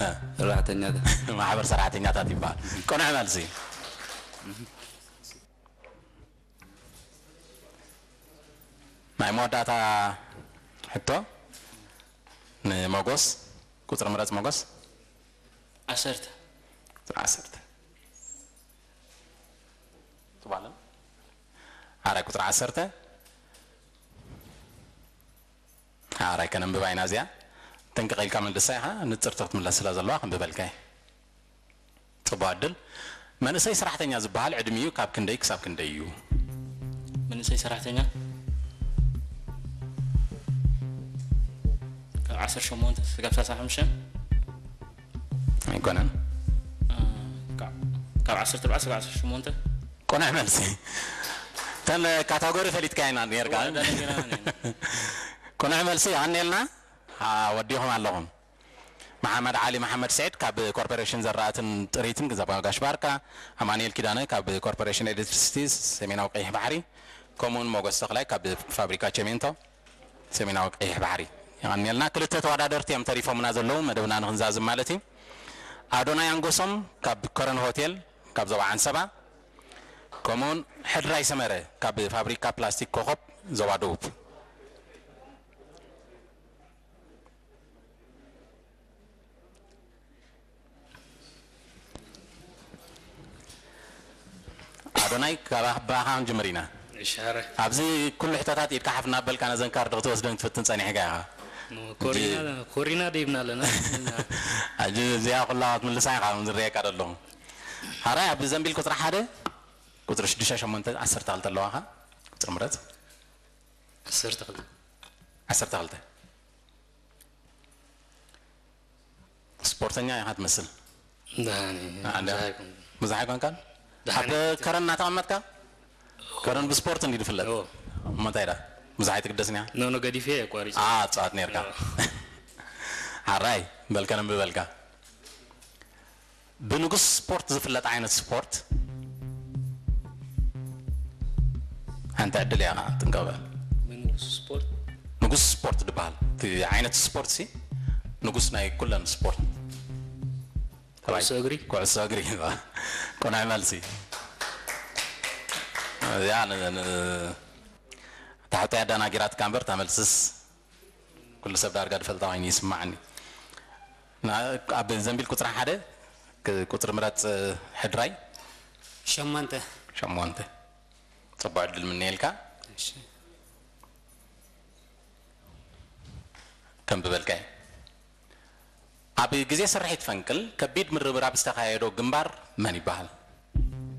ሰራሕተኛታት። ማሕበር ሰራሕተኛታት ይበሃል። ቅኑዕ መልሲ። ናይ መወዳእታ ሕቶ ንሞጎስ። ቁፅሪ ምረፅ ሞጎስ። ዓሰርተ። ቁፅሪ ዓሰርተ። ትባለን። ሓራይ ቁፅሪ ዓሰርተ። ሓራይ ከነንብባ ኢና እዚኣ። ጥንቅቕ ኢልካ መልሳ ኢኻ፣ ንፅርቲ ክትምለስ ስለ ዘለዋ ክንብበልካ እየ። ፅቡቕ ዕድል። መንእሰይ ሰራሕተኛ ዝበሃል ዕድሚኡ ካብ ክንደይ ክሳብ ክንደይ እዩ? መንእሰይ ሰራሕተኛ ካብ ዓሰርተ ሸሞንተ ስጋብ ሰላሳ ሓሙሽተ። ኣይኮነን። ካብ ዓሰርተ ኣርባዕተ ስጋብ ዓሰርተ ሸሞንተ። ቅኑዕ መልሲ። እተን ካታጎሪ ፈሊጥካ ኢና ነርካ። ቅኑዕ መልሲ። ኣኔልና ወዲኹም ኣለኹም። መሓመድ ዓሊ መሓመድ ስዒድ ካብ ኮርፖሬሽን ዘራእትን ጥሪትን ዞባ ጋሽ ባርካ፣ ኣማኑኤል ኪዳነ ካብ ኮርፖሬሽን ኤሌክትሪሲቲ ሰሜናዊ ቀይሕ ባሕሪ፣ ከምኡውን ሞገስ ተኽላይ ካብ ፋብሪካ ቸሜንቶ ሰሜናዊ ቀይሕ ባሕሪ። የቐንየልና። ክልተ ተወዳደርቲ እዮም ተሪፎምና ዘለዉ፣ መደብና ንክንዛዝም ማለት እዩ። ኣዶናይ ኣንጎሶም ካብ ከረን ሆቴል ካብ ዞባ ዓንሰባ፣ ከምኡውን ሕድራይ ሰመረ ካብ ፋብሪካ ፕላስቲክ ኮኸብ ዞባ ደቡብ። ኣዶናይ፣ ካባኻ ክንጅምር ኢና። እሻረ ኣብዚ ኩሉ ሕቶታት ኢድካ ሓፍ እናበልካ ነዘን ካርድ ክትወስደን ክትፍትን ጸኒሕካ ኢኻ። ኮሪና ደይብና ኣለና። ሕጂ እዚኣ ኩላ ክትምልሳ ኢኻ፣ ከም ዝረየካ ደለኹ። ሓራይ፣ ኣብ ዘንቢል ቁፅሪ ሓደ፣ ቁፅሪ ሽዱሽተ፣ ሸሞንተ፣ ዓሰርተ ክልተ ኣለዋኻ። ቁፅሪ ምረፅ። ዓሰርተ ክልተ። ዓሰርተ ክልተ። ስፖርተኛ ኢኻ ትመስል። ዳኒ ኣንዳ- ብዙሕ ኣይኮንኩን። ብዙሕ ኣይኮንካን? ደሓን ኣብ ከረን እናተቐመጥካ? ከረን ብስፖርት እንዲ ዝፍለጥ። እዎ። እሞ እንታይ ዳ? ብዙሕ ኣይትግደስን ኢኻ? ኖ ኖ ገዲፈ ኣቋሪፀ። ኣ ጻት ነርካ። ሓራይ በልከ ነንብበልካ። ብንጉስ ስፖርት ዝፍለጥ ዓይነት ስፖርት ሓንቲ ዕድል እያ ጥንቀበ። ብንጉስ ስፖርት ንጉስ ስፖርት ዝበሃል እቲ ዓይነት ስፖርት ሲ ንጉስ ናይ ኩለን ስፖርት ኩዕሶ እግሪ። ኩዕሶ እግሪ። ቅኑዕ መልሲ። እዚኣ ን- ን- ታሕቶ ያዳናጊራት ካምበር ተመልስስ ኩሉ ሰብ ዳርጋ ዝፈልጣ ኮይኑ ይስማዓኒ። ና- ኣብ ዘንቢል ቁፅሪ ሓደ ክ- ቁፅሪ ምረፅ። ሕድራይ ሸሞንተ። ሸሞንተ። ፅቡቅ ዕድል ምነየልካ። እሺ። ከም ብበልካይ ኣብ ግዜ ስርሒት ፈንቅል ከቢድ ምርብራብ ዝተኻየዶ ግንባር መን ይበሃል?